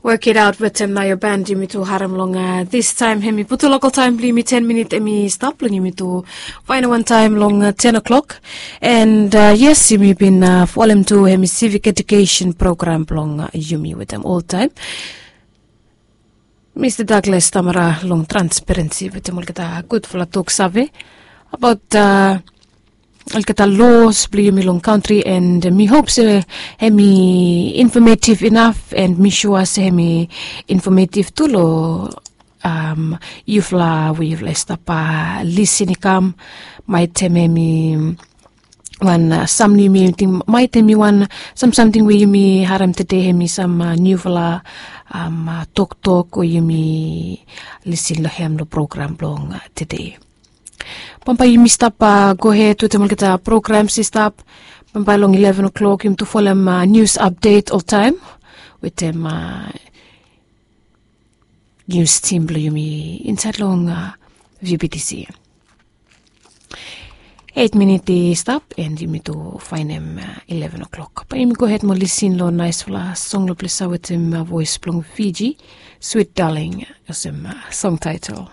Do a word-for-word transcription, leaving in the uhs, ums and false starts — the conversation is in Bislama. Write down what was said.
Work it out wetem Naya Band, yumi tu harem long distaem hemi putu lokal taem blong yumi, ten minit hemi stap long yumi tu faenem wan taem long ten o'clock. And yes, yumi bin folem tu hemi civic education program blong yumi wetem oltaem Mista Douglas Tamara long Transparency wetem olgeta gudfala toksave abaot olgeta los blong yumi long kantri, and mi hop se hemi infometief inaf, and mi sua se hemi infometief tu long yufala we yufala i stap lisin i kam. Maetem hemi wan sam niu mi ting, maetem hemi wan sam samting we yumi harem tede, hemi sam niufala toktok we yumi lisin long hem long program blong tede. Bambae yumi stap gohed wetem olgeta programs i stap. Bambae long eleven o'clock yumi tu folem nius apdet oltaem wetem nius tim blong yumi insaed long vbtc. Eit minit i stap and yumi tu faenem eleven o'clock. Bae yumi gohed mo lisin long naesfala song long ples ya wetem voes blong Fiji, Sweet Darling olsem song taetel.